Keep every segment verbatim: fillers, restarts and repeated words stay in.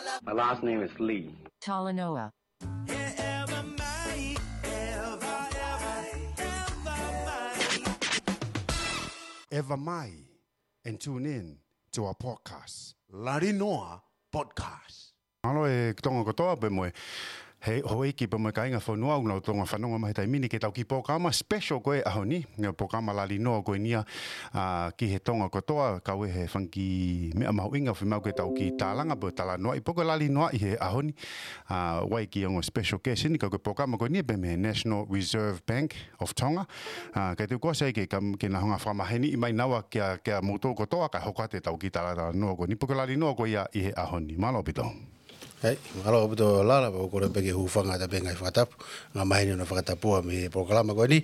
My last name is Lee. Talanoa. Ever mai and tune in to our podcast. Lali Noa Podcast. Mālō e Tonga kotoa pea mo e houʻeiki pea mo e kāinga fonua ʻoku nau Tonga fanongo mai he taimi ni ki heʻetau kiʻi polokalama special ko e ʻaho ni, ʻa e polokalama Lali Noa ko eni ia, ʻa, ki he Tonga kotoa, kau ai he fanga kiʻi meʻa mahuʻinga ʻoku fiemaʻu ke tau kiʻi tālanga pea talanoaʻi, pea ko e lali noaʻi he ʻaho ni, ʻa, ʻoku ʻi ai e kiʻi ongo special guest eni, ka ko e polokalama ko eni pē mei he National Reserve Bank of Tonga. ʻA, ka te u kole sai ke, ke nau hanga ʻo fakamaheni mai naua kia, kia moutolu kotoa kae hoko atu ʻetau kiʻi talatalanoa ko eni, pea ko e lali noa ko ia ʻi he ʻaho ni. Mālō ʻaupito. ʻEi, mālō ʻaupito Lala, pea ʻoku ou kole pē ke u hūfanga atu pē he ngaahi fakatapu, ngaahi maheni hono fakatapua mei he polokalama ko eni.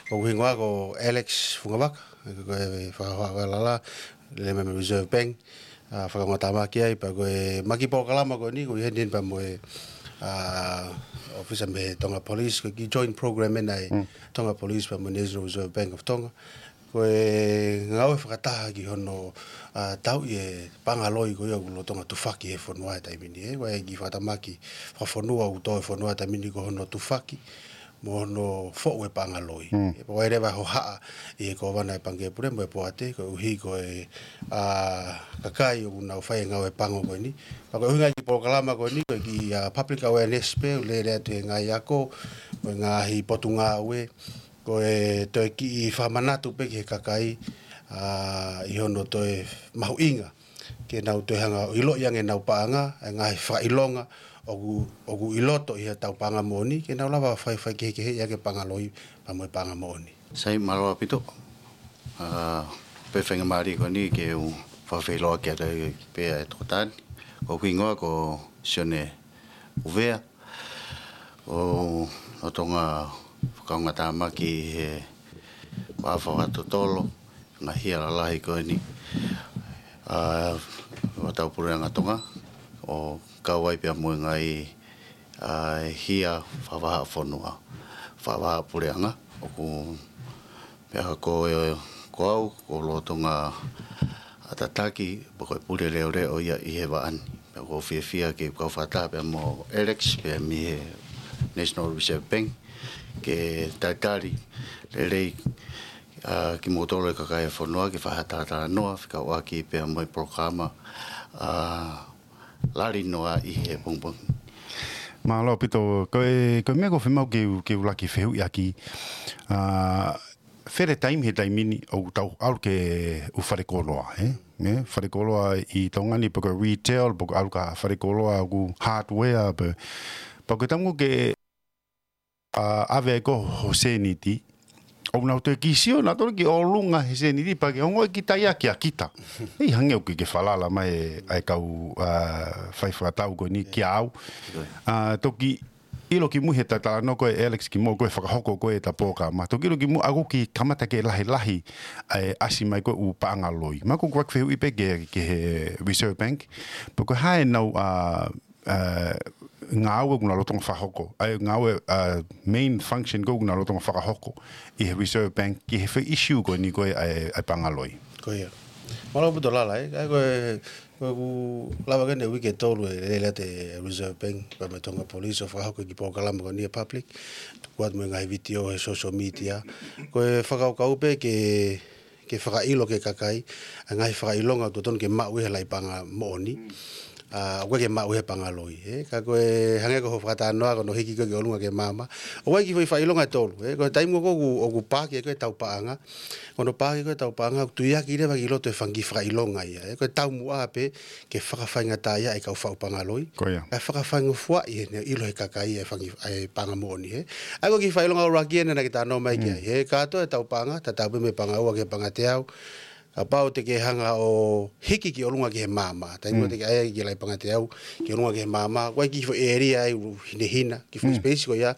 Ko hoku hingoa ko Alex Fungavaka, ko e fakahohaʻa ko ē Lala, lele mei he Reserve Bank, ʻa, fakaongotāmaki ai, pea ko ʻema kiʻi polokalama ko eni, ʻoku ʻi heni pea mo e, ʻa, ʻōfisa mei he Tonga Police, ko e kiʻi joint program ʻeni ʻa e Tonga Police pea mo e National Reserve Bank of Tonga. Ko e ngāue fakataha ki hono, ʻa, tauʻi e paʻanga loi ko ia ʻoku lolotonga tufaki he fonua he taimi ni, ē. Ko e kiʻi fakatamaki fakafonua ʻoku tō he fonua he taimi ni ko hono tufaki mo hono foʻu e paʻanga loi. ʻE, pea ʻoku ʻi ai leva e hohaʻa ʻi he Kōvana ʻo e Pangikē Pule mo e Poate, koeʻuhi ko e, ʻa, kakai ʻoku nau fai e ngāue pango ko eni. Pea ko e ʻuhinga e kiʻi polokalama ko eni, ko e kiʻi, ʻa, public awareness pē, ʻo lele atu he ngaahi ako, ko e ngaahi potungāue, ko e toe kiʻi fakamanatu pē ki he kakai, ʻa, ʻi hono toe mahuʻinga ke nau toe hanga ʻo ʻiloʻi ange ʻenau paʻanga, e ngaahi fakaʻilonga ʻoku, ʻoku ʻi loto ʻi heʻetau paʻanga moʻoni, ke nau lava ʻo fai, faikehekeheʻi ange paʻanga loi pea mo e paʻanga moʻoni. Sai, mālō ʻaupito. ʻA, pea faingamālie ko eni ke u fakafeʻiloaki atu ai pē ʻa e tokotā ni. Ko hoku hingoa ko Sione ʻUvea, ʻoku ou lolotonga fakaongotāmaki he vaʻa fakatotolo ngaahi hia lalahi ko eni, ʻa, ʻo e Tau Puleʻanga Tonga, ʻo kau ai pea mo e ngaahi, ʻa, hia fakavahaʻafonua, fakavahaʻapuleʻanga, ʻoku pea ko e, ko au, ʻoku ou lolotonga ʻa, tataki, pea ko e pule leʻoleʻo ia ʻi he vaʻa ni. Pea ʻoku ou fiefia ke kau fakataha pea mo Alex, pea mei he National Reserve Bank, ke talitali lelei, ʻa, kimoutolu e kakai e fonua, ke fai ha talatalanoa, fekauʻaki pea mo e polokalama, ʻa, Lali Noa ʻi he pongipongi. Mālō ʻaupito, ko e, ko e meʻa ʻoku ou fiemaʻu ke u, ke u laki fehuʻi ʻaki, ʻa, fele taimi he taimi ni ʻoku tau ʻalu ki he ʻū falekoloa, ē? Ē, falekoloa ʻi Tonga ni, pe ko e retail, pe ko e ʻalu ki ha falekoloa ʻoku hardware, pe, pea ko e taimi ko ē ke, ʻa, ʻave ai ko ho sēniti, ʻoku nau toe kiʻi sio nautolu ki ʻolunga he sēniti, pea ke ongoʻi kita ia kia kita. ʻEi, hangē ʻoku ke falala mai e, ʻa e kau, ʻa, fai fakatau ko eni kia au. ʻA, toki ʻilo kimui he talatalanoa ko ē ʻa Alex kimoua ko ē fakahoko ko ē ʻeta polokalama. Toki ʻilo kimui ʻa ʻoku kiʻi kamata ke lahilahi ʻa e ʻasi mai ko ē ʻū paʻanga loi. Pea ko ʻeku kiʻi fehuʻi pē ki he, ki he Reserve Bank. Pea ko e hā ʻenau, ʻa, ʻa, ngāue ʻoku nau lolotonga fakahoko. ʻA e ngāue, ʻa, main function ko ē ʻoku nau lolotonga fakahoko ʻi he Reserve Bank ki he foʻi issue ko eni ko ē ʻa e, ʻa e paʻanga loi. Ko ia. Mālō ʻaupito Lala, ē. ʻA ia ko e, ko ʻeku lava ko eni e uike ʻe tolu ʻe lele atu e Reserve Bank pea mo e Tonga Police ʻo fakahoko e kiʻi polokalama ko eni ki he public. Tuku atu mo e ngaahi vitiō he social media. Ko e fakakaukau pē ke, ke fakaʻilo ki he kakai ʻa e ngaahi fakaʻilonga ʻoku totonu ke maʻu ʻi he laʻi paʻanga moʻoni. ʻA, ʻoku ʻikai ke maʻu ʻi he paʻanga loi, ē. Ka ko e hangē ko hoʻo fakatalanoa ko hono hiki ko ē ki ʻolunga ki he maama. ʻOku ʻi ai e kiʻi foʻi fakaʻilonga ʻe tolu, ē. Ko e taimi ko ē ʻoku, ʻoku paaki ko ē ʻetau paʻanga, ko hono paaki ko ē ʻetau paʻanga, ʻoku tuiaki leva ki loto e fanga kiʻi fakaʻilonga ia, ē. Ko e taumuʻa pē ke fakafaingataʻaʻia e kau faʻu paʻanga loi. Ko ia. Kae fakafaingofuaʻi ʻene ʻilo ʻe he kakai e fanga kiʻi, ʻa e paʻanga moʻoni, ē. ʻA ia ko e kiʻi fakaʻilonga ʻuluaki eni naʻa ke talanoa mai ki ai, ē. Kātoa ʻetau paʻanga, tatau pē mei he paʻanga ua ki he paʻanga teau, kapau te ke hanga ʻo hiki ki ʻolunga ki he maama, taimi ko ē te ke ʻai ki he laʻi paʻanga teau, ki ʻolunga ki he maama, ʻoku ʻi ai e kiʻi foʻi ʻēlia ʻe hinehina, kiʻi foʻi space ko ia,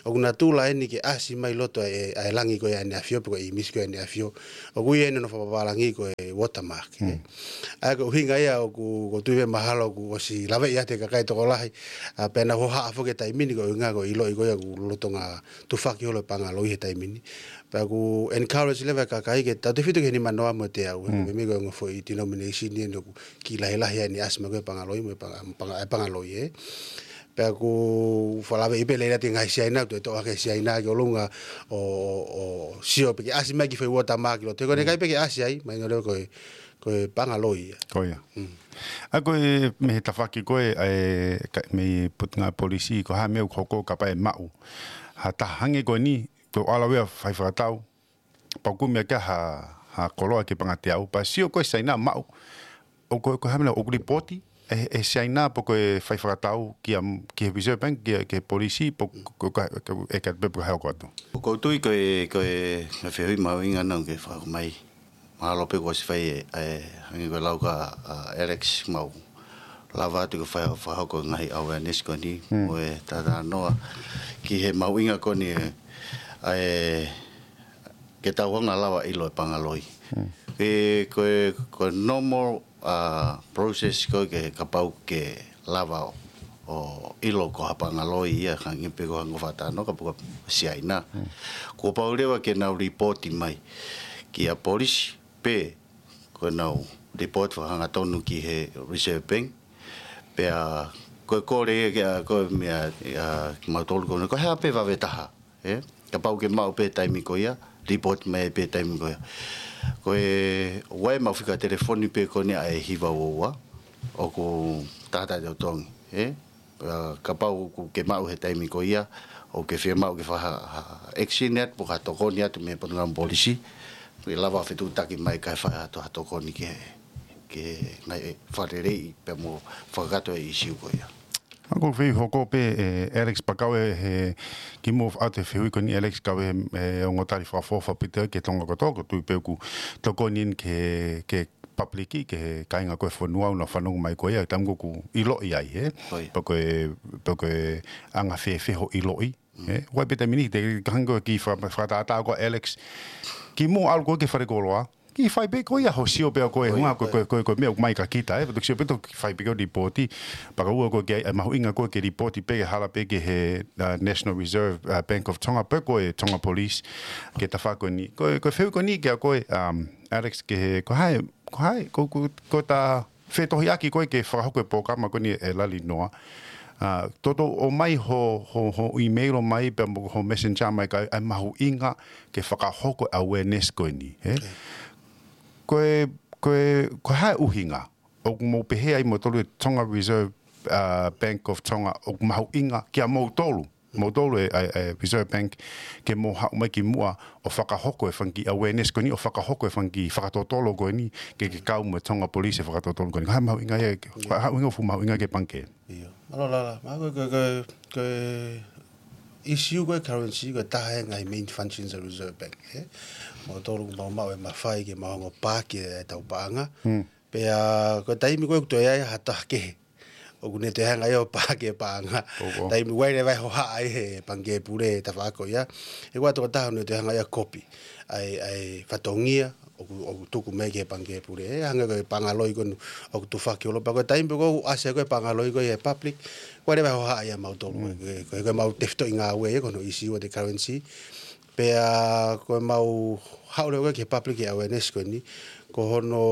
ʻoku natula eni ke ʻasi mai loto e, ʻa e langi ko ia ʻa ʻEne ʻAfio, pe ko e ʻīmisi ko ia ʻa ʻEne ʻAfio. ʻOku ʻi ai ʻene fakapapalangi ko e watermark, ē. ʻA ia ko e ʻuhinga ia ʻoku, ʻoku ou tui pē mahalo kuo ʻosi laveʻi atu ʻe he kakai tokolahi, ʻa, pea nau hohaʻa foki he taimi ni ko e ʻuhinga ko e ʻiloʻi ko ia ʻoku lolotonga tufaki holo e paʻanga loi he taimi ni. Pea ʻoku encourage leva e kakai ke tautefito ki he nima noa mo e teau, ē, ko e meʻa ko e ongo foʻi denomination eni ʻoku kiʻi lahilahi ai ʻene ʻasi mai ko ē Pangaloi, mo e Panga-, Panga-, ʻa e Pangaloi, ē. Pea ʻoku fakalave ʻi pē lelei atu e ngaahi Siaina, toe toʻo hake Siaina ki ʻolunga ʻo, ʻo, ʻo sio pē ke ʻasi mai ki he foʻi watermark ʻi loto. He ko ʻene ʻikai pē ke ʻasi ai, mahino leva ko e, ko e Pangaloi ia. Ko ia. Mm. ʻA ko e mei he tafaʻaki ko ē, ʻa e ka-, mei he Potungāue Polisi, ko e hā e meʻa ʻoku hoko kapau ʻe maʻu ha taha hangē ko eni, ko e ʻalu ʻo fai fakatau, pea kumi ʻaki ha, ha koloa ke pangateau, pea sio ko ē Siaina maʻu, ʻoku, ko e hā e meʻa ʻoku lipooti ʻe, ʻe Siaina pe ko e fai fakatau ki a, ki he Reserve Bank, ki he, ki he polisi, pe ko, ko, ko, ko e ka pe ko e hā ʻoku ʻoatu. Ko u tui ko e, ko e, ko e fehuʻi mahuʻinga naʻa ke fakahoko mai. Mahalo pē kuo ʻosi fai ē, ē, hangē ko e lau ʻa, ʻa Alex, mau lava atu ke fai, fakahoko e ngaahi awareness ko eni, mo e talanoa ki he mahuʻinga ko eni, ē, ē, ke tau hanga ʻo lava ʻo ʻilo e Pangaloi. Pea ko e, ko e normal, ā, process ko ē ke kapau ke lava ʻo, ʻo ʻilo ko ha Pangaloi ia, hangē pē ko e ongo fakatalanoa, kapau ko e Siaina. Kuo pau leva ke nau lipooti mai ki he polisi, pe ko ʻenau lipooti fakahangatonu ki he Reserve Bank. Pea ko e kole ia ke, ā, ko e meʻa, ā, kimautolu ko eni, ko e hā pē vave taha, ē? Kapau ke maʻu pē taimi ko ia, lipooti mai pē taimi ko ia. Ko e ʻoku ʻi ai ʻemau fika telefoni pē ko eni ʻa e hiva ua ua, ʻoku tātātaha ʻo totongi, ē? Ā, kapau ʻoku ke maʻu he taimi ko ia, ʻoku ke fiemaʻu ke fai ha, ha action atu, pe ko ha tokoni atu mei he Potungāue Polisi, ke lava fetuʻutaki mai kae fai atu ha tokoni ke, ke ngaahi fakaleleiʻi pea mo fakakakato e ʻīsiu ko ia. ʻA ko e fehuʻi hoko pē, ē, Alex, pea kau ē he, kimuʻa ʻoatu e fehuʻi ko eni Alex, kau ē he, ē, ongo tali fakaʻofoʻofa ʻaupito ki he Tonga kotoa, ko u tui pē ʻoku tokoni eni ki he, ki he public, ki he kāinga ko ē ʻo e fonua ʻoku nau fanongo mai ko ia, taimi ko ē ʻoku ʻiloʻi ai, ē? Ko ia. Pe ko e, pe ko e anga fēfē hoʻo ʻiloʻi, ē? ʻOku ʻi ai pē taimi ni, te u hanga ʻo kiʻi faka-, fakatātā ko ē Alex, kimuʻa ʻalu ko ē ki he falekoloa, kiʻi fai pē ko ia hoʻo sio pea ko e, ko ia, hunga ko e, ko e, ko e, ko e meʻa ʻoku ʻomai kia kita, ē? Pea toki sio pē toki fai pē ko e lipooti, pea ka ua ko e ke, ē, mahuʻinga ko ē ke lipooti pē ke hala pē ki he, ā, National Reserve, ā, Bank of Tonga, pe ko e Tonga Police, ki he tafaʻaki ko eni. Ko e, ko e fehuʻi ko eni kia koe, um, Alex, ki he, ko hai, ko hai, ko, ko, ko ʻeta fetohiʻaki ko ē ke fakahoko e polokalama ko eni ʻe Lali Noa. Ā, toutou ʻomai ho, ho, ho email ʻomai pea mo ho messenger mai ka ʻi ai e mahuʻinga ke fakahoko e awareness ko eni, ē? Ko e, ko e, ko e hā e ʻuhinga ʻoku mou pehē ai moutolu e Tonga Reserve, ā, Bank of Tonga ʻoku mahuʻinga kia moutolu, moutolu e, e, e Reserve Bank, ke mou haʻu mai kimuʻa ʻo fakahoko e fanga kiʻi awareness ko eni, ʻo fakahoko e fanga kiʻi fakatotolo ko eni, ke, ke kau mo e Tonga Police he fakatotolo ko eni. Ko e hā e mahuʻinga ia, ko e hā e ʻuhinga ʻoku fuʻu mahuʻinga ki he pangikē? ʻIo. Mālō Lala, ma ko e, ko e, ko e ʻīsiu ko e currency, ko e taha e ngaahi main functions ʻa e Reserve Bank, ē? Moutolu ʻoku mau maʻu e mafai ke mau hanga ʻo paaki ʻetau paʻanga. Pea ko e taimi ko ē ʻoku toe ʻi ai ha taha kehe ʻoku ne toe hanga ia ʻo paaki e paʻanga. Taimi ʻoku ʻi ai leva e hohaʻa ʻi he pangikē pule he tafaʻaki ko ia. ʻE ʻoatu ʻe ha taha ʻoku ne toe hanga ia ʻo kopi ʻa e, ʻa e fatongia ʻoku, ʻoku tuku mai ki he pangikē pule. ʻE hangē ko e Pangaloi ko eni ʻoku tufaki ʻo lava. Pea ko e taimi pē ʻoku ʻasi ai ko ē Pangaloi ko ē ʻi he public, ʻoku ʻi ai leva e hohaʻa ia mautolu. Ko e, ko e, ko ʻemau tefitoʻi ngāue ia ko hono ʻīsiu ʻa e currency. Pea ko ʻemau haʻu leva ki he public awareness ko eni, ko hono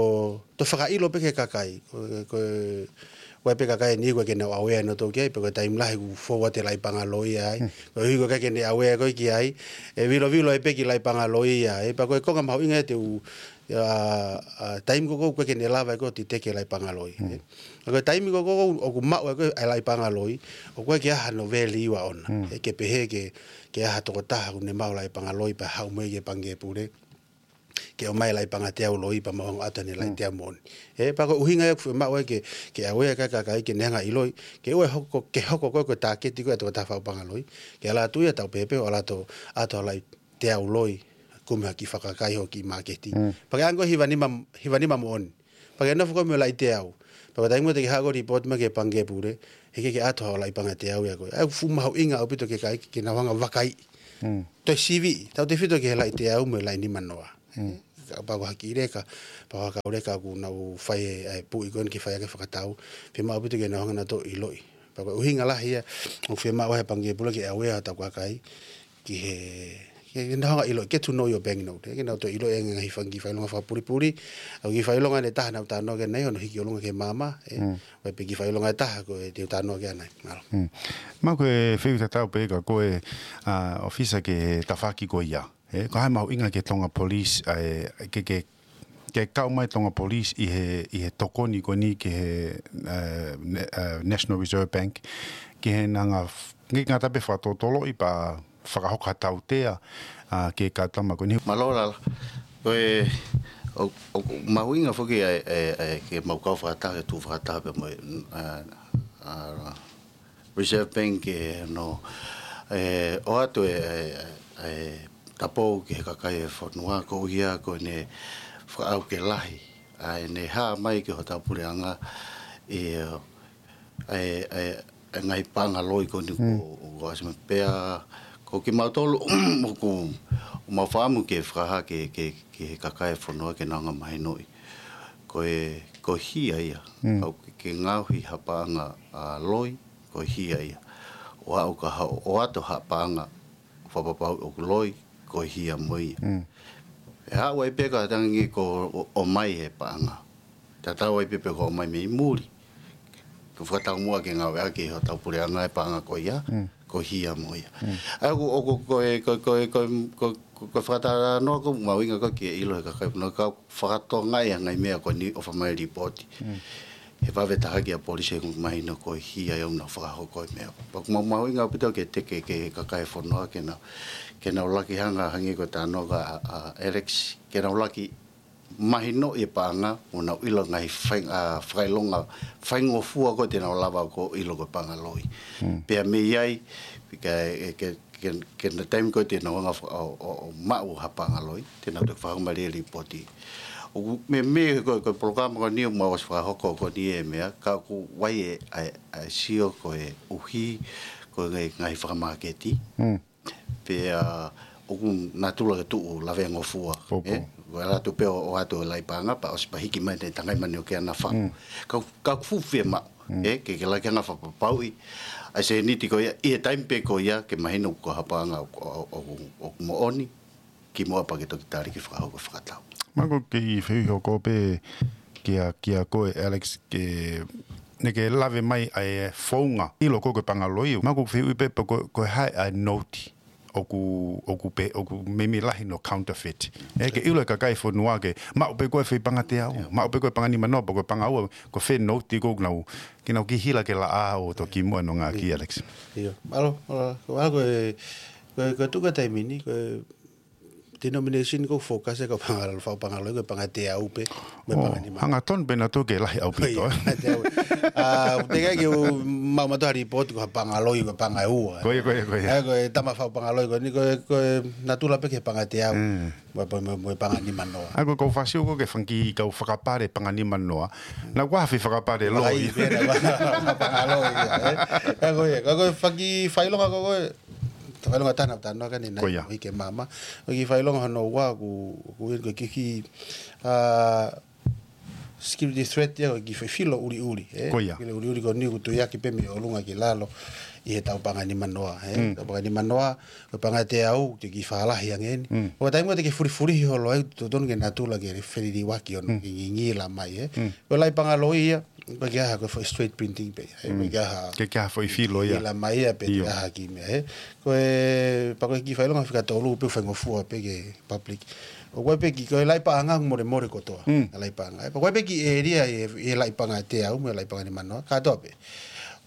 toe fakaʻilo pē ki he kakai. Ko e, ko e, ʻoku ʻi ai pē kakai eni ʻoku ʻikai ke nau aware nautolu ki ai, pea ko e taimi lahi ʻoku fou atu e laʻi Pangaloi ai. Ko e ʻuhi ʻoku ʻikai ke ne aware ko ē ki ai, ʻe vilovilo ai pē e kiʻi laʻi Pangaloi ai. Pea ko e konga mahuʻinga ia te u, ʻa, ʻa, taimi ko ē ʻoku ʻikai ke ne lava ai ko ē ʻo titeki e laʻi Pangaloi. Pea ko e taimi ko ē ʻoku maʻu ai ko ē e laʻi Pangaloi, ʻoku ʻikai ke ʻi ai hano value ʻaʻona. ʻE ke pehē ke, ke ʻi ai ha tokotaha ʻoku ne maʻu e laʻi Pangaloi pea haʻu mo ia ki he pangikē pule ke ʻomai e laʻi pangateau loi pea mau hanga ʻo ʻoatu ʻene laʻi teau moʻoni. ʻE, pea ko e ʻuhinga ia ʻoku fiemaʻu ai ke, ke aware e kakai ke ne hanga ʻo ʻiloʻi, ke ʻoua ʻe hoko, ke hoko ko ē ko e tāketi ko ē ʻa e tokotaha faʻu pangaloi, ke ʻalu atu ia ʻo tau pehē pē ʻo ʻalu atu ʻo ʻoatu ha laʻi teau loi, kumi ha kiʻi fakakai ho kiʻi māketi. Pea ke ʻange ko e hiva nima, hiva nima moʻoni. Pea ke nofo ko ē mo e laʻi teau. Pea ko e taimi ko ē te ke haʻu ʻo lipooti mai ki he pangikē pule, heʻikai ke ʻoatu ha laʻi pangateau ia ko ē. ʻA ia ʻoku fuʻu mahuʻinga ʻaupito ki he kakai ke nau hanga ʻo vakaiʻi. Toe siviʻi, tautefito ki he laʻi teau mo e laʻi nima noa. Ka, pea ko ha kiʻi leka, pea ko ha kau leka ʻoku nau fai e, e puʻi ko eni ke fai ʻaki e fakatau. Fiemaʻu ʻaupito ke nau hanga nautolu ʻo ʻiloʻi. Pea ko e ʻuhinga lahi ia, ʻoku fiemaʻu ai e pangikē pule ke aware ʻetau kakai ki he, ke nau hanga ʻo ʻilo, get to know your bank note, ē, ke nau toe ʻilo e ngaahi fanga kiʻi fakaʻilonga fakapulipuli, ʻa e kiʻi fakaʻilonga ʻe taha naʻa ku talanoa ki ai ʻanai, hono hiki ʻolunga ki he maama, ē, Mm. ʻo e pē kiʻi fakaʻilonga ʻe taha ko e te u talanoa ki ai ʻanai. Mālō. Mm. Mahalo ko e fehuʻi tatau pē kia koe, ʻa, ʻōfisa ki he tafaʻaki ko ia. Ē, ko e hā e mahuʻinga ki he Tonga Police, ʻa e, ke, ke, ke kau mai Tonga Police ʻi he, ʻi he tokoni ko eni ki he, ē, ne-, ē, National Reserve Bank, ki he ngaahi f-, ngaahi ngata pē fakatotoloʻi pea fakahoko ha tautea, ʻa, ki he kau tama ko eni. Mālō Lala. Ko e, ʻo, ʻoku mahuʻinga foki ʻa e, ʻa e, ʻa e, ke mau kau fakataha, ke tuʻu fakataha pē mo e, ʻa, ʻa, Reserve Bank ke no, ē, ʻoatu e, e, e, tapou ki he kakai e fonua koeʻuhi ko ʻene fakaʻau ke lahi ʻa ʻene hā mai ki hotau puleʻanga ʻi he, e, e, e ngaahi paʻanga loi ko eni Mm. ko, ko ʻasi mai pea, ko kimautolu ʻoku, ʻoku mau fakaʻamu ke fakahā ki he, ki he, ki he kakai e fonua ke nau hanga ʻo mahinoʻi. Ko e, ko e hia ia. Mm. Kapau ke, ke ngaohi ha paʻanga, ʻa, loi, ko e hia ia. ʻO aʻu ki ha, ʻoatu ha paʻanga fakapapauʻi ʻoku loi, ko e hia mo ia. Mm. ʻE haʻu ai pē ka tangi ko ʻo, ʻomai he paʻanga. Tatau ai pē pe ko e ʻomai mei muli. Ko e fakataumuʻa ke ngāueʻaki ʻe hotau puleʻanga e paʻanga ko ia, Mm. ko e hia mo ia. Mm. ʻA ia ʻoku, ʻoku, ko e, ko e, ko e, ko e, ko e, ko e fakatalanoa ʻoku mahuʻinga ko ē ke ʻilo he kakai, no ka fakatokangaʻi ʻa e ngaahi meʻa ko eni ʻo fai mai e lipooti. Mm. He vave taha ki he polisi he ʻoku mahino ko e hia ia ʻoku nau fakahoko e meʻa. Pea ʻoku mahuʻinga ʻaupito ke teke ki he kakai e fonua ke nau, ke nau laki hanga hangē ko e talanoa ʻa, ʻa Alex, ke nau laki mahinoʻi e paʻanga, ʻo nau ʻilo ngaahi fai-, ʻa, fakaʻilonga, faingofua ko ē te nau lava ʻo ʻilo ko e paʻanga loi. Mm. Pea mei ai, ke, ke, ke, ke na taimi ko ē te nau hanga ʻo, ʻo, ʻo maʻu ha paʻanga loi, te nau toe fakahoko mai e lipooti. ʻOku meimei ko e, ko e polokalama ko eni ʻoku mau ʻosi fakahoko ko eni e meʻa, ka ʻoku ʻi ai e, ʻa e, ʻa e sio ko e ʻuhi, ko e ngaahi, ngaahi fakamāketi. Mm. Pea ʻoku natula ke tuʻu lavengofua. Popo. Ē? Ko e ʻalu atu pē ʻo, ʻoatu e laʻi paʻanga, pea ʻosi pē hiki mai te tangai mani ʻo ke ana fa. Mm. Ka, ka fuʻu fiemaʻu. Mm. Ē, ke, ke laki hanga ʻo fakapapauʻi ʻa e sēniti ko ia, ʻi he taimi pē ko ia, ke mahino ko ha paʻanga ʻoku, ʻoku, ʻoku, ʻoku moʻoni, kimuʻa pea ke toki tali ke fakahoko e fakatau. Mahalo ko e kiʻi fehuʻi hoko pē kia, kia koe, Alex, ke, naʻa ke lave mai ʻa e founga, ʻilo ko ē ko e paʻanga loi. Mahalo ko e fehuʻi pē pe ko, ko e hā e note ʻoku, ʻoku pē, ʻoku meimei lahi hono counterfeit. Ē, ke ʻilo e kakai e fonua ke, maʻu pē ko e foʻi paʻanga teau, maʻu pē ko e paʻanga nimanoa, pe ko e paʻanga ua, ko e fē note ʻoku nau, ke nau kiʻi hila ke laʻā ʻo toki muʻa hono ngāueʻaki, Alex. ʻIo. Mālō, mālō. Ko, ko e, ko e, ko e tuʻu ko ē taimi ni, ko e denomination ʻoku focus ai ko e paʻanga, faʻu paʻanga loi, ko e paʻanga teau pē, mo e Oh, paʻanga nima. Hangatonu pē naʻa tau ke lahi ʻaupito, ʻIo, ē? Paʻanga teau. ʻA, te ke ke u maʻu mautolu ha lipooti ko ha paʻanga loi, ko e paʻanga ua. Ko ia, ko ia, ko ia. ʻA, ko e tama faʻu paʻanga loi, ko eni, ko e, ko e natula pē ki he paʻanga teau. Mm. Mo, mo, mo, mo e paʻanga nimanoa. ʻA, ko e kau fāsiu ko ē ke fanga kiʻi kau fakapale paʻanga nimanoa. Naʻa ku ʻai ha foʻi fakapale loi. Ai, pē naʻa ku ʻai ha paʻanga loi, ia, ē? ʻA, ko ia, ko e, ko e fanga kiʻi fakaʻilonga ko ē, fakaʻilonga taha naʻa ku talanoa ki ai ʻanai, Ko ia. ʻo hiki e maama. Ko e kiʻi fakaʻilonga hono ua ʻoku, ʻoku ʻi ai ko e kiʻi, ʻa, security threat ia, ko e kiʻi foʻi filo ʻuliʻuli, ē? Ko ia. Filo ʻuliʻuli ko eni ʻoku tuiaki pē mei ʻolunga ki lalo ʻi heʻetau paʻanga nimanoa, ē? Mm. Tau paʻanga nimanoa, ko e paʻanga teau, te ke kiʻi fakalahi ange eni. Mm. Ko e taimi ko ē te ke fulifulihi holo ai, totonu ke natula ke feliliuaki hono Mm. ngingila mai, ē? Mm. Ko e laʻi paʻanga loi ia, ʻoku ʻikai ke ʻi ai ha ko e foʻi straight printing pē, ē, Mm. ʻoku ʻikai ke ʻi ai ha ʻIkai ke ʻi ai ha foʻi filo ia. ngingila mai ia, pe te ʻIo. ʻi ai ha kiʻi meʻa, ē. Ko e, pea ko e kiʻi fakaʻilonga fika tolu pē ʻoku faingofua pē ki he public. ʻOku ʻi ai pē kiʻi, ko e laʻi paʻanga ʻoku molemole kotoa. Mm. Laʻi paʻanga. Pea ko e pē kiʻi ʻēlia ʻi he, ʻi he laʻi paʻanga teau, mo e laʻi paʻanga nimanoa. Kātoa pē.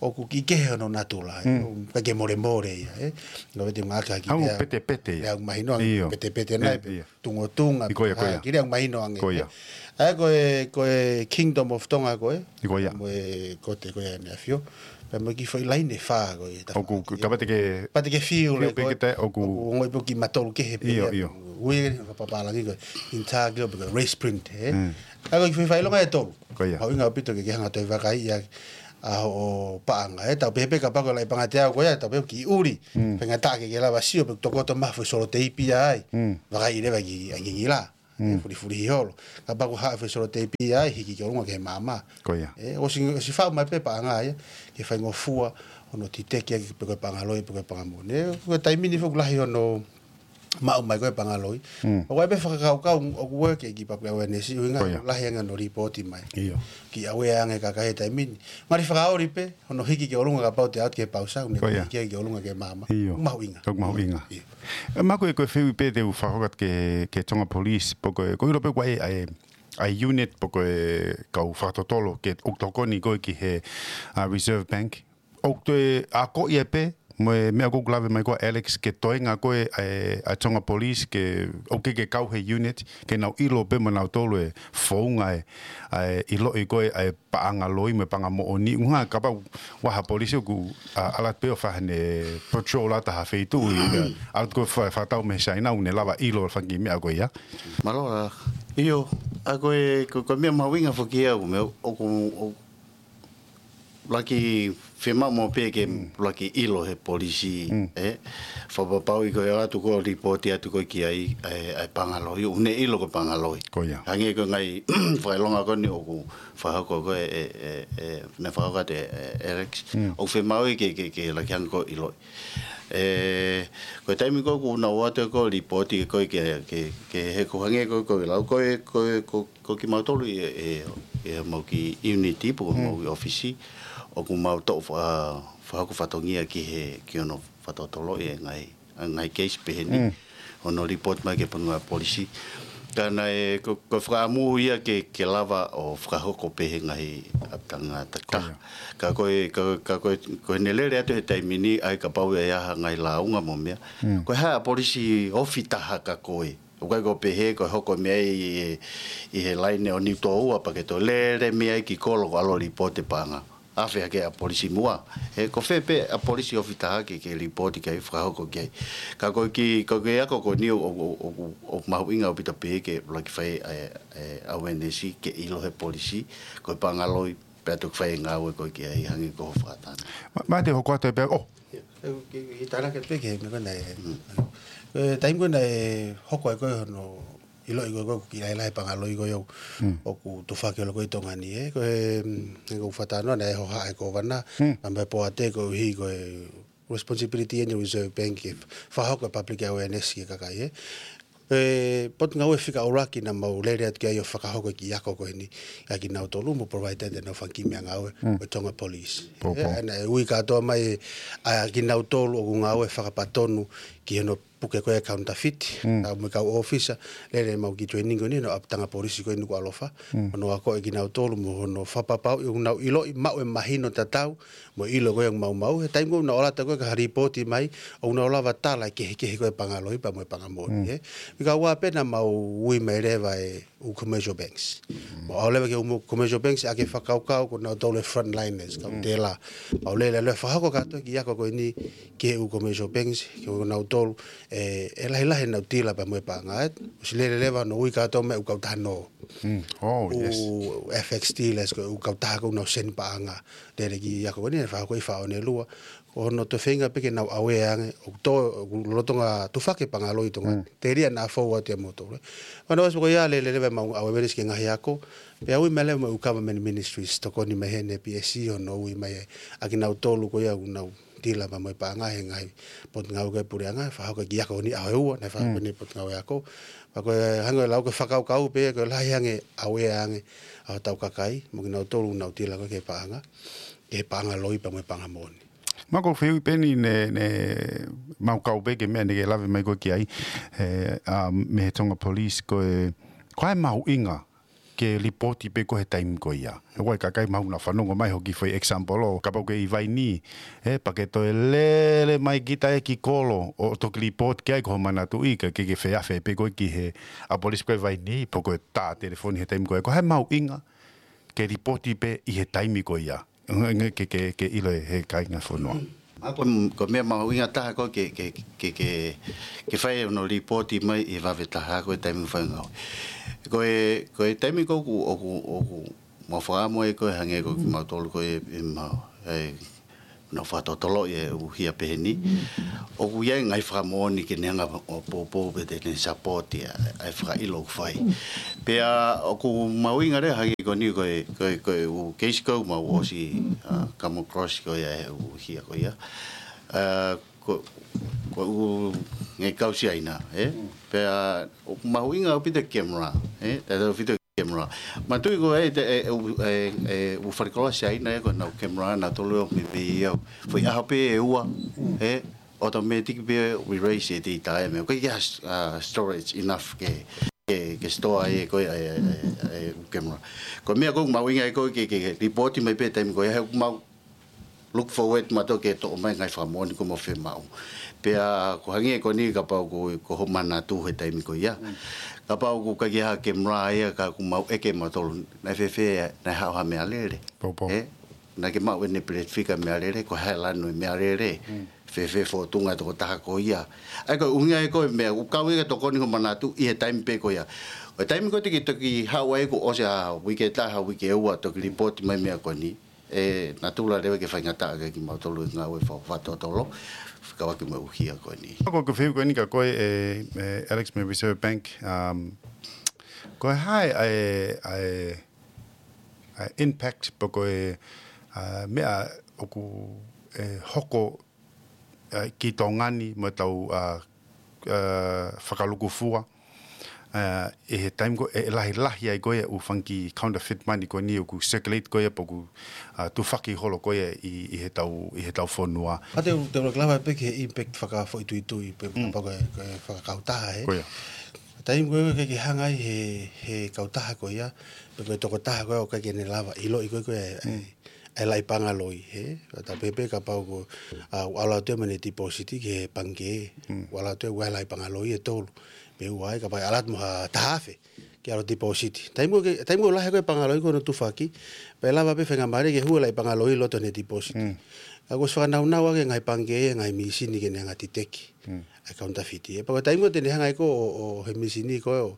ʻOku kiʻi kehe hono natula, ē. Mm. ʻOku ʻikai ke molemole ia, ē. Ko e pē te ngāueʻaki ha kiʻi ʻOku meʻa. petepete ia. Meʻa ʻoku mahino ange, ʻIo. petepete nai Ē, pē. ʻio. Tungotunga, ʻIo, ko ia, ko ia. Kiʻi lea mahino ange. Ko ia. ʻA ia ko e, ko e Kingdom of Tonga ko ē. ʻIo, ko ia. Mo e kote ko ē ʻa e meʻa fio. Pea mo e kiʻi foʻi laine ʻe fā ko ē. ʻOku, ka pau te ke, Pau te ke feel feel like pē ko ē. ke te, ʻoku. ʻOku ongoʻi pē ʻoku kiʻi matolu kehe pē ʻIo, ia. ʻIo. Ui ke papālangi ko e intaglio pe ko e race print, ē? Mm. ʻA ia ko e kiʻi foʻi fakaʻilonga ʻe tolu. Ko ia. Mahuʻinga ʻaupito ke ke hanga ʻo toe vakaiʻi ʻa hoʻo paʻanga, ē? Tau pehē pē kapau ko e laʻi paʻanga teau ko ia, tau pehē kiʻi ʻuli. Mm. Faingataʻa ke ke lava sio pe ʻoku tokoto mai ha foʻi soloteipi ai. Mm. Vakaiʻi leva ki he ngingila. Mm. Fulifulihi holo. Kapau ko ha foʻi soloteipi ai, hiki ki ʻolunga ki he maama. Ko ia. Ē, ʻosi, ʻosi faʻu mai pē paʻanga ia, ke faingofua hono titeki ʻaki pe ko e paʻanga loi, pe ko e paʻanga moʻoni. Ē, ko e taimi ni foki ʻoku lahi hono maʻu mai ko ē pangaloi. ʻOku ʻi ai pē fakakaukau ʻoku ʻeke ki he public awareness, ʻuhinga ʻoku lahi ange hono lipooti mai. Ki ʻave ange e kakai he taimi ni. Ngali fakaoli pē hono hiki ki ʻolunga kapau te ʻalu ki he pausa, ʻoku ne hiki ki ʻolunga ki he maama. ʻOku mahuʻinga. ʻOku mahuʻinga. ʻE, Mako, ko e fehuʻi pē te u fakahoko atu ki he, ki he Tonga Police, pe ko e, ʻoku ʻilo pē ʻoku ʻi ai e, ʻa e unit pe ko e kau fakatotolo ke ʻoku tokoni ko ē ki he, ʻa, Reserve Bank. ʻOku toe akoʻi pē mo e meʻa ʻoku lave mai ko ē ʻa Alex ke toenga ko ē ʻa e, ʻa e Tonga Police ke ʻoku ke, ke kau he unit ke nau ʻilo pē mo nautolu e founga e, ʻa e ʻiloʻi ko ē ʻa e paʻanga loi mo e paʻanga moʻoni. ʻUhinga kapau ʻoku ʻi ai ha polisi ʻoku, ʻa, ʻalu atu pē ʻo fai haʻane patrol atu ha feituʻu ʻi, ʻalu atu ko ē fa-, fakatau mei Saina ʻoku ne lava ʻilo fanga kiʻi meʻa ko ia. Mālō. ʻIo, ʻa ko e, ko, ko e meʻa mahuʻinga foki ia ʻoku meʻa, ʻoku, ʻoku laki fiemaʻu mo pē ke laki ʻilo he polisi, ʻe. Fakapapauʻi ko e ʻalu atu ko e lipooti atu ko ē ki ai, ʻa e, ʻa e paʻanga loi, ʻoku ne ʻilo ko e paʻanga loi. Ko ia. Hangē ko e ngaahi fakaʻilonga ko eni ʻoku fakahoko ko ē, ʻe, ʻe, ʻe, ne fakahoko atu ʻe, ʻe Alex. ʻOku fiemaʻu ke, ke, ke laki hanga ko ē ʻiloʻi. ʻE, ko e taimi ko ē ʻoku nau ō atu ko ē lipooti ko ē ke, ke, ke he ko hangē ko ē, ko e lau ko ē, ko e, ko, ko kimautolu ʻi, ʻi, ʻi heʻemau kiʻi unit pe ko homau kiʻi ʻōfisi, ʻoku mau toʻo fa-, fakahoko fatongia ki he, ki hono fakatotoloʻi e ngaahi, ngaahi case pehē ni. Hono lipooti mai ki he potungāue polisi. Ka naʻe, ko, ko e fakaʻamu ia ke, ke lava ʻo fakahoko pē he ngaahi ʻapitanga tata. Ka ko e, ka, ka ko e, ko ʻene lele atu he taimi ni, ʻai kapau ʻe ʻi ai ha ngaahi lāunga mo e meʻa. Ko e hā e polisi ofi taha kia koe? ʻOku ʻikai ko e pehē ko e hoko e meʻa ʻi, ʻi, ʻi he laine ʻo Niutōua pea ke toe lele mei ai ki kolo ʻo ʻalu ʻo lipooti e paʻanga. ʻAve hake ʻa e polisi muʻa. ʻE, ko fē pē ʻa e polisi ofi taha ke, ke lipooti ki ai, fakahoko ki ai. Ka ko e kiʻi, ko e kiʻi ako ko eni ʻoku, ʻoku, ʻoku, ʻoku mahuʻinga ʻaupito pē ke laki fai e, e awareness ke ʻilo he polisi, ko e paʻanga loi, pea toki fai e ngāue ko ē ki ai hangē ko hoʻo fakatātā. Mā, mā te u hoko atu pē, ʻo. ʻIo, ʻe, ke, ke tānaki pē ki he meʻa ko ena ʻe. Ko e taimi ko ena ʻe hoko ai ko ē hono ʻiloʻi ko ē ʻoku kiʻi lahilahi e paʻanga loi ko ē ʻoku, ʻoku tufaki holo ko ē ʻi Tonga ni, ʻe. Ko e, mm, ʻoku ou fakatalanoa naʻe hohaʻa e kōvana, Napai Poate, koeʻuhi ko e responsibility ʻeni ʻa e Reserve Bank ke fakahoko e public awareness ki he kakai, ʻe. ʻE, potungāue fika ʻuluaki naʻa mau lele atu ki ai ʻo fakahoko e kiʻi ako ko eni, ʻa kinautolu mo provide ʻenau fanga kiʻi meʻangāue, ko e Tonga Police. ʻE, naʻe ui kātoa mai ʻa kinautolu ʻoku ngāue fakapatonu ki hono puke ko ē e counterfeit, kau mo e kau ʻōfisa, lele ʻemau kiʻi training ko eni, hono ʻapitanga polisi ko ē ʻi Nukuʻalofa. Hono akoʻi kinautolu mo hono fakapapauʻi ʻoku nau ʻiloʻi, maʻu e mahino tatau, mo e ʻilo ko ē ʻoku maumau. He taimi ko ē ʻoku nau ʻalu atu ko ē ki ha lipooti mai, ʻoku nau lava tala e kehekehe ko ē e paʻanga loi pea mo e paʻanga moʻoni, ʻe. Fika ua pē naʻa mau ui mai leva e ʻū commercial banks. Mau ʻalu leva ki he ʻū commercial banks ʻaki e fakakaukau ko nautolu e frontliners, kau tēlā. Mau lele leva ʻo fakahoko kātoa e kiʻi ako ko eni ki he ʻū commercial banks, ki he ʻū nautolu, ʻe, ʻe lahilahi ʻenau tila pea mo e paʻanga, ʻe. ʻOsi lele leva hono ui kātoa mai e ʻū kautaha nō. ʻŪ F X dealers, ko e ʻū kautaha ko ē ʻoku nau send paʻanga. Lele e kiʻi ako ko eni, ʻe fakahoko ʻi Fāʻone lua. Ko hono toe feinga pē ke nau aware ange, ʻoku tō, ʻoku lolotonga tufaki e paʻanga loi ʻi Tonga. Telia naʻa fou atu ia moutolu, ʻe. Ko hono ʻosi ko ia lele leva ʻemau awareness ki he ngaahi ako. Pea ui mai leva mo e ʻū government ministries, tokoni mai heni P S C hono ui mai ʻa kinautolu ko ia ʻoku nau tila pea mo e paʻanga he ngaahi potungāue ko ē puleʻanga, fakahoko e kiʻi ako ni ʻaho ʻe ua, naʻe fakahoko ʻeni potungāue ako. Pea ko e hangē ko e lau ko e fakakaukau pē, ko e lahi ange, aware ange ʻa hotau kakai, mo kinautolu ʻoku nau tila ko ē ki he paʻanga, ki he paʻanga loi pea mo e paʻanga moʻoni. Mako, fehuʻi pē ʻeni ne, ne mau kau pē ki he meʻa naʻa ke lave mai ko ē ki ai, ʻe, ʻa, mei he Tonga Police, ko e, ko e hā e mahuʻinga ke lipooti pē ko ē he taimi ko ia. ʻOku ʻi ai e kakai mahalo naʻa nau fanongo mai hoʻo kiʻi foʻi example ʻo kapau ko e ʻi Vainī, ʻe, pea ke toe lele mai kita ʻe ki kolo ʻo toki lipooti ki ai, ko hoʻo manatuʻi ka ke, ke feafe pē ko ē ki he ʻa e polisi ko ē ʻi Vainī, pe ko e tā telefoni he taimi ko ia. Ko e hā e mahuʻinga ke lipooti pē ʻi he taimi ko ia. Nge, nge, ke, ke, ke ʻilo ʻe he kāinga fonua. ʻA ko, ko e meʻa mahuʻinga taha ko ē ke, ke, ke, ke, ke fai hono lipooti mai ʻi he vave taha ko e taimi fai ngāue. Ko e, ko e taimi ko ē ʻoku, ʻoku, ʻoku mau fakaʻamu ai ko ē hangē ko kimautolu ko ē ʻi he mau, ʻe, nau fakatotoloʻi e ʻū hia pehē ni. ʻOku ʻi ai e ngaahi fakamoʻoni ke ne hanga ʻo poupou pe te ne support ia ʻa e fakaʻilo ʻoku fai. Pea ʻoku mahuʻinga leva hangē ko eni ko e, ko e, ko e ʻū case ko ē ʻoku mau ʻosi, ʻa, come across ko ia e ʻū hia ko ia. ʻA, Ko, ko ʻeku ngaahi kau Siaina, ē? Pea ʻoku mahuʻinga ʻaupito e camera, ē? Tautautefito e camera. Manatuʻi ko e, e, e, e, e, ʻū falekoloa Siaina, ē, ko ʻenau camera, naʻa nau tolo ʻo mei pē ia. Foʻi ʻaho pē ʻe ua, ē? Automatic pē ʻo erase e data, ē, meʻa. ʻOku ʻikai ke ʻi ai ha s-, ā, storage enough ke, ke, ke store ai ko e, e, e, e, e camera. Ko e meʻa ʻoku mahuʻinga ai ko e ke, ke, ke report mai pē taimi ko ia he ʻoku mau look forward mautolu ke toʻo mai ngaahi fakamoʻoni ʻoku mau fiemaʻu. Pea ʻoku hangē ko eni kapau ko, ko hoʻo manatu he taimi ko ia. Kapau ʻoku ʻikai ke ʻi ai ha camera ia ka ʻoku mau ʻeke mautolu naʻe fēfē, naʻe haʻu ha meʻa lele. Pau, pau. Ē? Naʻa ke maʻu ʻene blood figure meʻa lele, ko e hā e lanu e meʻa lele. Fēfē fōtunga e tokotaha ko ia. ʻA ia ko e ʻuhinga ia ko e meʻa, ʻoku kau ia ke tokoni hoʻo manatu ʻi he taimi pē ko ia. ʻO e taimi ko ē te ke toki haʻu ai kuo ʻosi ha uike ʻe taha, uike ʻe ua, toki report mai meʻa ko eni. ʻE natula leva ke faingataʻa kiate kimautolu e ngāue fakafaitotolo, fekauʻaki mo e ʻuhinga ko eni. Ko e fehuʻi ko eni kia koe ē, ē, Alex mei Reserve Bank, um, ko e hā e, e, e, e impact pe ko e, ā, meʻa ʻoku, ē, hoko, ē, ki Tonga ni mo ʻetau, ā, ā, fakalukufua, ā, ʻi he taimi ko ē ʻe lahilahi ai ko ē ʻū fanga kiʻi counterfeit money ko eni ʻoku circulate ko ē pe ʻoku, ā, tufaki holo ko ē ʻi, ʻi heʻetau, ʻi heʻetau fonua. Ka te u, te u lava pē ki he impact fakafoʻituitui pe kapau ko e, ko e fakakautaha, ē. Ko ia. Taimi ko ē ʻoku ʻikai ke hanga ai he, he kautaha ko ia, pe ko e tokotaha ko ē ʻoku ʻikai ke ne lava ʻiloʻi ko ē ko e, e, e laʻi paʻanga loi, ē? Ka ta pehē pē kapau ko, ā, ʻoku ʻalu atu ia mo ʻene deposit ki he pangikē, ʻoku ʻalu atu ia ʻoku ʻi ai e laʻi paʻanga loi ʻe tolu. Pe ua ai, kapau ʻe ʻalu atu mo ha taha afe ke ʻalu deposit. Taimi ʻoku ke, taimi ʻoku lahi ko ē paʻanga loi ko hono tufaki, pea lava pē faingamālie ke hū e laʻi paʻanga loi ʻi loto ʻene deposit. Ka kuo ʻosi fakanaunau ʻaki e ngaahi pangikē, e ngaahi mīsini ke ne hanga ʻo detect ʻa e counterfeit. Ē, pea ko e taimi ʻoku te ne hanga ai ko ē ʻo, ʻo he mīsini ko ē ʻo,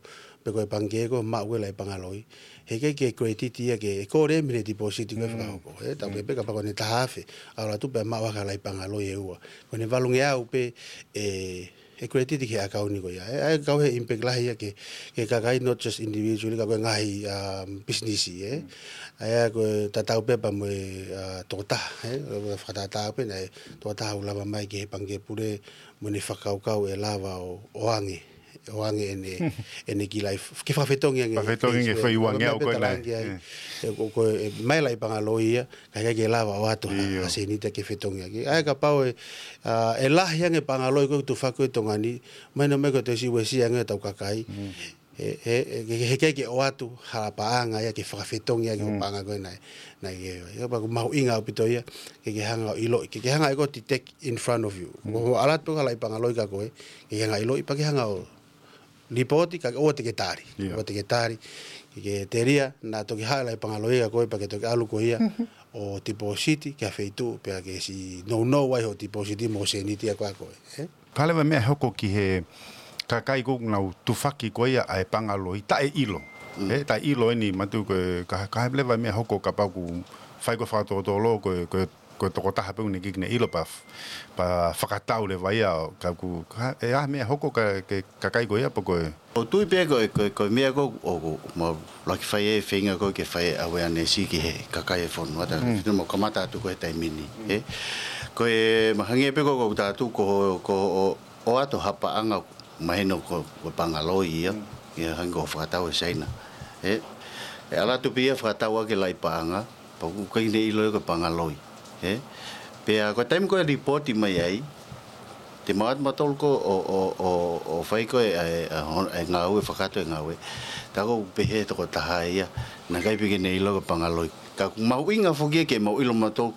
pe ko e pangikē ko ē ʻo maʻu e laʻi paʻanga loi, heʻikai ke credit ia ke, ʻe kole mei he deposit ko ē fakahoko. Ē, tau pehē pē kapau ko ʻene taha afe, ʻalu atu pea maʻu hake ha laʻi paʻanga loi ʻe ua. Ko ʻene valungeau pē, ē, ʻe credit ki he ʻakauni ko ia. Ē, ʻa ia ʻoku kau he impact lahi ia ke, ki he kakai, not just individually, ka ko e ngaahi, um, business, ē. ʻA ia ko e tatau pē pea mo e, ā, tokotaha, ē, fakatatau pē naʻe tokotaha ʻoku lava mai ki he pangikē pule mo ʻene fakakaukau ʻe lava ʻo, ʻo ʻoange, ʻoange ʻene, ʻene kiʻi laʻi, ke fakafetongi ange. Fakafetongi ange e foʻi uangeau ko ē naʻe. Ē, ko, ko e, mai laʻi paʻanga loi ia, ka ʻikai ke lava ʻo ʻoatu ha, ha sēniti ke fetongi ange. ʻA ia kapau ʻe, ā, ʻe lahi ange paʻanga loi ko ē ʻoku tufaki ko ē ʻi Tonga ni, mahino mai ko e toe siʻi uesia ange ʻetau kakai. He, he, he, he, heʻikai ke ʻoatu ha paʻanga ia ke fakafetongi ange hoʻo paʻanga ko ē naʻe, naʻe ke, ia pea ʻoku mahuʻinga ʻaupito ia, ke ke hanga ʻo ʻiloʻi, ke ke hanga ʻe koe ʻo detect in front of you. Ko hoʻo ʻalu atu ha laʻi paʻanga loi kia koe, ke ke hanga ʻo ʻiloʻi, pea ke hanga ʻo lipoti, kae ʻoua te ke tali. ʻOua te ke tali, ke ke telia, naʻa toki haʻu e laʻi paʻanga loi kia koe, pea ke toki ʻalu koe ia, ʻo deposit, ki ha feituʻu, pea ke siʻi nounou ai hoʻo deposit mo e sēniti ʻa koe ʻa koe, ē? Ko e hā leva e meʻa ʻe hoko ki he kakai ko ē ʻoku nau tufaki ko ia ʻa e paʻanga loi, taʻeʻilo. Ē, taʻeʻilo eni manatuʻi ko e, ka, ko e hā leva e meʻa ʻe hoko kapau ʻoku fai ko ē fakatotolo ko e, ko e, ko e tokotaha pē ʻoku ne ʻikai ke ne ʻilo pea, pea fakatau leva ia, ka ʻoku, ka, ʻe ʻi ai ha meʻa ʻe hoko ki he, ki he kakai ko ia pe ko e. ʻOku ou tui pē ko e, ko e, ko e meʻa ko ē ʻoku, ʻoku mau ʻuluaki fai e feinga ko ē ke fai e awareness ki he kakai e fonua, tautautefito mo e kamata atu ko ē he taimi ni, ē? Ko e mahino pē ko ē ʻoku tau ʻatu ko, ko ʻo, ʻoatu ha paʻanga mahino ko, ko e paʻanga loi ia, ia hangē ko e fakatau ʻe Siaina, ē? ʻE ʻalu atu pē ia ʻo fakatau ʻaki e laʻi paʻanga, pea ʻoku ʻikai ke ne ʻilo ia ko e paʻanga loi, ē? Pea ko e taimi ko ē ʻe lipoti mai ai, te mau ʻatu mautolu ko ē ʻo, ʻo, ʻo, ʻo fai ko ē ʻa e, ʻa e hon-, ʻa e ngāue, fakakātoa e ngāue. Tā ko ē ʻoku pehē ʻe he tokotaha ia, naʻe ʻikai pē ke ne ʻilo ko e paʻanga loi. Ka ʻoku mahuʻinga foki ia ke mau ʻilo mautolu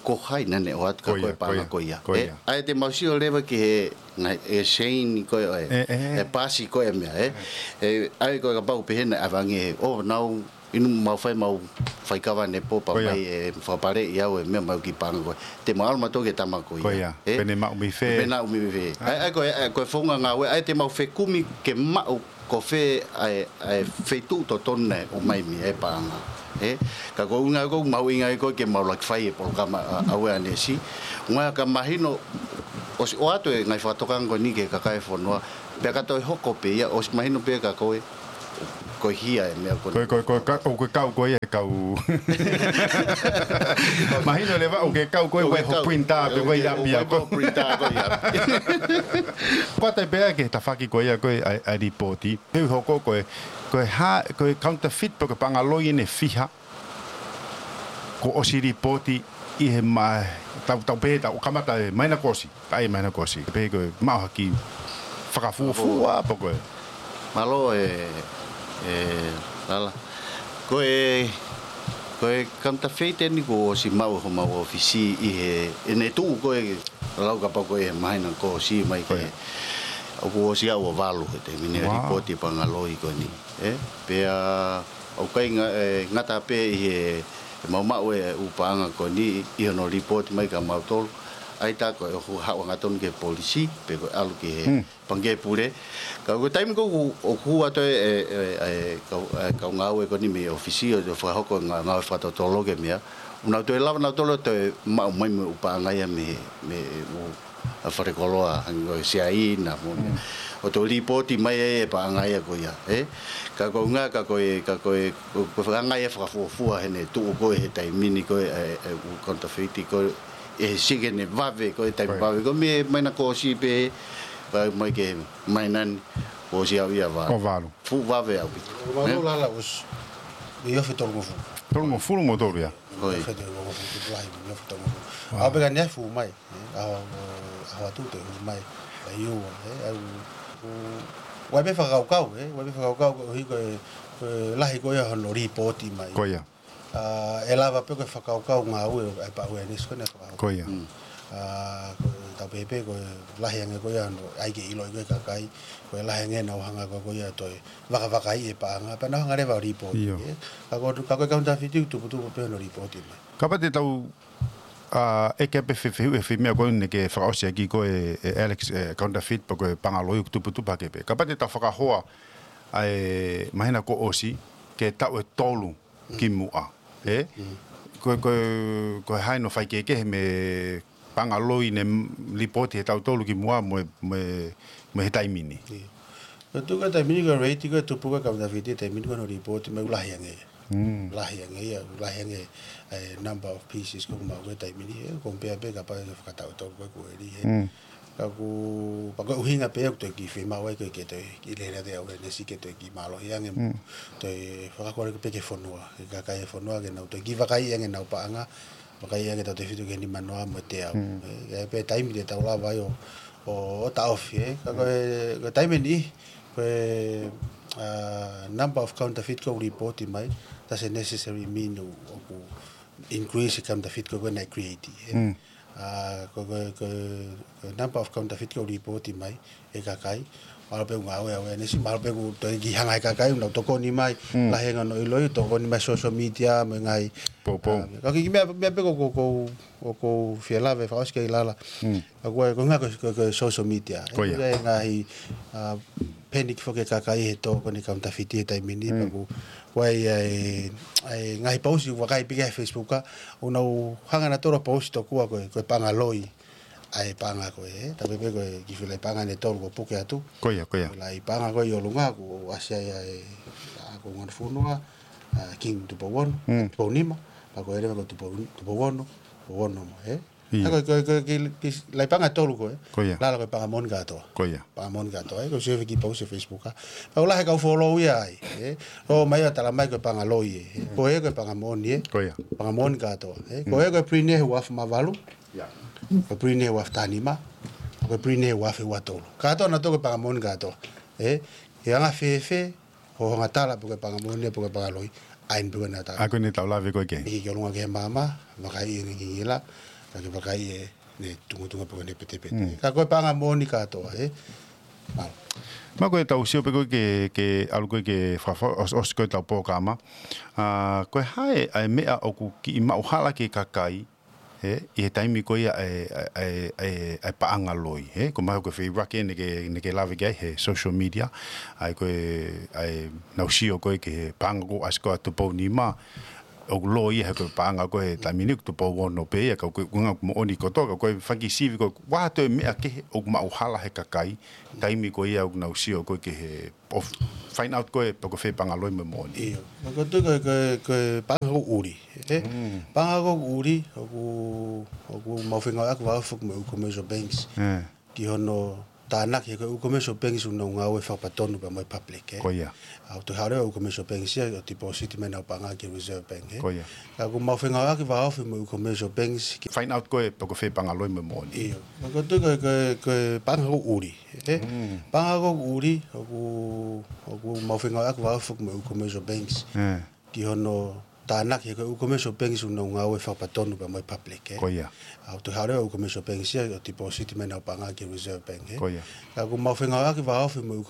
ko hai naʻa ne ʻoatu ʻaki ko ē e paʻanga ko ia. Ē, ʻa ia te mau sio leva ki he ngaahi, e chain ko ē, ʻe, ʻe pasi ko ē e meʻa, ē. Ē, ʻa ia ko e kapau pehē naʻe ʻave ange, ʻo, nau inu mau fai, mau fai kava ne pō pea mai ʻe fakapaleʻi au e meʻa, mau kiʻi paʻanga ko ē. Te mau ʻalu mautolu ki he tama ko ia. Ē? Pe ne maʻu mei fē. Pe ne maʻu mei fē. ʻA ia, ʻa ia ko e, ʻa ia ko e founga ngāue, ʻa ia te mau fekumi ke maʻu ko fē ʻa e, ʻa e feituʻu totonu naʻe ʻomai mei ai e paʻanga. Ē? Ka ko e ʻuhinga ko ē ʻoku mahuʻinga ai ko ē ke mau ʻuluaki fai e polokalama, ʻa, awareness. ʻUhinga ka mahino ʻosi ʻoatu e ngaahi fakatokanga ko eni ki he kakai e fonua. Pea ka toe hoko pē ia, ʻosi mahino pē kia koe. Ko e hia e meʻa ko ē. Ko e, ko e, ko e ka-, ʻoku ke kau ko ē he kau. Mahino leva ʻoku ke kau ko ē ʻoku ke ʻi ho kau. Printer pe ʻoku ke ʻi ʻapi ʻoku ke ʻi ho printer ko ē ʻi ʻapi. Ko e taimi pē ʻa e ke tafaki ko ē ʻa ko ē ʻa e, ʻa e lipooti. He ʻoku hoko ko e, ko e hā, ko e counterfeit pe ko e paʻanga loi ʻe fiha. Kuo ʻosi lipooti ʻi he ma-, tau, tau pehē tau kamata e māhina kuo ʻosi. Ka ʻi he māhina kuo ʻosi. Pehē ko e maʻu ha kiʻi fakafuofua pe ko e. Mālō e, e, Lala. Ko e, ko e counterfeit eni kuo ʻosi maʻu homau ʻōfisi ʻi he, ʻene tuʻu ko ē Lala kapau ko e māhina kuo ʻosi mai ko ē. Ko ia. ʻOku ʻosi ʻa ua valu he taimi ni. Wow. Lipooti paʻanga loi ko eni. ʻE? Pea ʻoku ʻikai nga-, e, ngata pē ʻi he, he maʻumaʻu e ʻū paʻanga ko eni ʻi hono lipooti mai kia mautolu. ʻAi tā ko e ʻoku haʻu angatonu ki he polisi, pe ko e ʻalu ki he Hmm. pangikē pule. Ka ko e taimi ko ē ʻoku, ʻoku ʻatu e, e, e, e, kau, e, kau ngāue ko eni mei he ʻōfisi ʻo, ʻo fakahoko e ngā-, ngāue fakatotolo ki he meʻa. ʻOku nau toe lava nautolu ʻo toe maʻu mai mo e ʻū paʻanga ia mei he, mei he ʻū ʻa e falekoloa, hangē ko e Siaina mo e meʻa. Mm. ʻO toe lipooti mai ai e paʻanga ia ko ia, ē? Ka ko e ʻuhinga, ka ko e, ka ko e, ko, ko e faʻahinga ia fakafuofua heʻene tuʻu ko ē he taimi ni ko ē, e, e, ʻū counterfeit ko ē, ʻe sike ne vave ko ē taimi Ko ia. vave ko ē mei he māhina kuo ʻosi pē, vave mai ki he māhina ni, kuo ʻosi ʻa ua ia valu. ʻO valu. Fuʻu vave ʻaupito. Ko e Ē? Lala ʻosi, ʻi he ofi tolungofulu. Tolungofulu mo tolu ia. Ko ia. Ofi tolungofulu, tupu lahi, ʻi he ofi tolungofulu. Wow. ʻAho pē ka ne fuʻu mai. ʻE, ʻaho, ʻaho atu te u mai, ʻa ia, ʻe, ʻa ia, ʻoku, ʻoku ʻi ai pē fakakaukau, ʻe, ʻoku ʻi ai pē fakakaukau ko e ʻuhi ko e, ko e lahi ko ia hono lipooti mai. Ko ia. ʻA, ʻe lava pē ko e fakakaukau ngāue, ʻa e pā awareness ko ena fakakaukau. Ko ia. Mm. ʻA, ko e tau pehē pē ko e lahi ange ko ia hono, ʻai ke ʻiloʻi ko e kakai, ko e lahi ange nau hanga ko, ko ia toe vakavakai e paʻanga, pea nau hanga leva ʻo lipooti, Io. ʻe. Ka ko, ka ko e counterfeit tuputupu pē hono lipooti mai. Kapau te tau ʻA, ʻeke pē fefehuʻi he foʻi meʻa ko eni ke fakaʻosi ʻaki ko e, e Alex, e counterfeit pe ko e paʻanga loi ʻoku tuputupu hake pē. Kapau te tau fakahoa ʻa e māhina kuo ʻosi, ki he taʻu ʻe tolu ki muʻa, ē? Mm. Ko e, ko e, ko e hā hono faikehekehe mei he paʻanga loi ne lipooti he taʻu ʻe tolu ki muʻa mo e, mo e, mo e he taimi ni. ʻIo. Ko e tuʻu ko e taimi ni ko e rate ko e tupu ko e counterfeit he taimi ni ko hono lipooti mai ʻoku lahi ange. Mm. Lahi ange ia, lahi ange e number of pieces ko ē ʻoku maʻu he taimi ni, ʻe, compare pē kapau ʻe fakataʻu ʻe tolu ko ē kuo ʻi heni, ʻe. Mm. Ka ʻoku, pea ko e ʻuhinga pē ʻoku toe kiʻi fiemaʻu ai ko e ke toe kiʻi lele atu e awareness ke toe kiʻi mālohi ange, Mm. toe fakakole pē ki he fonua, ki he kakai e fonua ke nau toe kiʻi vakaiʻi ange ʻenau paʻanga, vakaiʻi ange tautefito ki he nimanoa mo e teau. Mm. ʻE, ʻi ai pē taimi te tau lava ai ʻo, ʻo, ʻo taʻofi, ʻe. Ka ko e, ko e taimi ni, ko e, ʻa, number of counterfeit ko ē ʻoku lipooti mai, doesn't necessarily mean ʻoku increase e counterfeit ko ē naʻe create, ʻe. Mm. ʻA, ko, ko, ko, ko e number of counterfeit ko ē ʻoku lipooti mai, ʻe kakai, mahalo pē ʻoku ngāue awareness, mahalo pē ʻoku toe kiʻi hanga he kakai, ʻo nau tokoni mai, Mm. lahi ange hono ʻiloʻi, tokoni mai social media, mo e ngaahi Poupou. ʻA, ka ko e kiʻi meʻa, meʻa pē ko, ko, ko, ʻoku ou fie lave fakaʻosi ki ai Lala. Mm. Ka ko e, ko e ʻuhinga ko, ko, ko e social media. Ko ia. ʻE, ko e ngaahi, ʻa, panic foki e kakai he tō ko eni e counterfeit he taimi ni, Mm. pea ko, ko e, ʻa e, ʻa e ngaahi post ʻoku vakai pē ki ai he Facebook, ʻoku nau hanga nautolu ʻo post tokua ko e, ko e paʻanga loi ʻa e paʻanga ko ē, ʻe. Tau pehē pē ko e kiʻi foʻi laʻi paʻanga ʻe tolu kuo puke atu. Ko ia, ko ia. Laʻi paʻanga ko ē ʻi ʻolunga, kuo ʻasi ai ʻa e, ʻa, ko e ʻUngāfonua, ʻa, King Tupou Ono, Mm. Tupou Nima, pea ko e leva ko Tupou, Tupou Ono, Tupou Ono mo, ʻe. ʻIo. ʻA, ko e, ko e, ko e, kiʻi, kiʻi laʻi paʻanga ʻe tolu ko ē. Ko ia. Lala ko e paʻanga moʻoni kātoa. Ko ia. Paʻanga moʻoni kātoa, ʻe. Ko e sio ki he post he Facebook, ʻa. Pea ʻoku lahi e kau follow ia ai, ʻe. Lō mai ʻo tala mai ko e paʻanga loi, ʻe. Mm. Ko ē ko e paʻanga moʻoni, ʻe. Ko ia. Paʻanga moʻoni kātoa, ʻe. Ko Mm. ē ko e print he ua afe mā valu. Ia. Ko e print he ua afe taha nima. Ko e print he ua afe ua tolu. Kātoa nautolu ko e paʻanga moʻoni kātoa, ʻe. ʻE anga fēfē hoʻo hanga tala pe ko e paʻanga moʻoni pe ko e paʻanga loi, ʻa eni pē ko ē naʻa tau. ʻA ko eni tau lave ko ē ki ai. ʻIki ki ʻolunga ki he maama, vakaiʻi ʻene ngingila, ka ke vakaiʻi ʻene tungatunga pe ko ʻene petepete. Mm. Ka ko e paʻanga moʻoni kātoa, ʻe. Mālō. Mā ko e tau sio pē ko ē ke, ke ʻalu ko ē ke fakaʻo-, ʻos-, ʻosi ko ē ʻetau polokalama. ʻA, ko e hā e, ʻa e meʻa ʻoku kiʻi maʻuhala ki he kakai, ʻe, ʻi he taimi ko ia ʻa e, ʻa e, ʻa e, ʻa e, ʻa e paʻanga loi, ʻe? Ko e meʻa ko e feituʻu ʻeni ke, ʻeni ke lave ki ai he social media, ʻa e ko e, ʻa e nau sio ko ē ki he paʻanga kuo ʻasi ko ē ʻa Tupou Nima, ʻoku lō ia he ko e paʻanga ko ē he taimi ni ʻoku tupou ono pē ia, ka ko e ʻuhinga ʻoku moʻoni kotoa, ka ko e fanga kiʻi sivi ko ē, ʻoku ʻi ai ha toe meʻa kehe ʻoku maʻuhala he kakai, taimi ko ia ʻoku nau sio ko ē ki he, ʻo find out ko ē pe ko e fē paʻanga loi mo e moʻoni. ʻIo. Ko e, ko e, ko e, ko e paʻanga ʻoku ʻuli, ē? Paʻanga ʻoku ʻuli, ʻoku, ʻoku mau fengāueʻaki vave foki mo e ʻū commercial banks. Ē. Ki hono tānaki he ko e ʻū commercial banks ʻoku nau ngāue fakapatonu pea mo e public, ē? Ko ia. ʻA, ʻoku toe haʻu leva e ʻū commercial banks ia ʻo deposit mai ʻenau paʻanga ki he Reserve Bank, ē? Ko ia. Ka ʻoku mau fengāueʻaki vave foki mo e ʻū commercial banks ki find out ko ē pe ko e fē paʻanga loi mo e moʻoni. ʻIo. Ko e, ko e, ko e, ko e paʻanga ʻoku ʻuli, ē? Paʻanga ʻoku ʻuli, ʻoku, ʻoku mau fengāueʻaki vave foki mo e ʻū commercial banks. Ē. Ki hono tānaki he ko e ʻū commercial banks ʻoku nau ngāue fakapatonu pea mo e public, ē? Ko ia. ʻA, ʻoku toe haʻu leva e ʻū commercial banks ia ʻo deposit mai ʻenau paʻanga ki he Reserve Bank, ē? Ko ia. Ka ʻoku mau fengāueʻaki vave foki mo e ʻū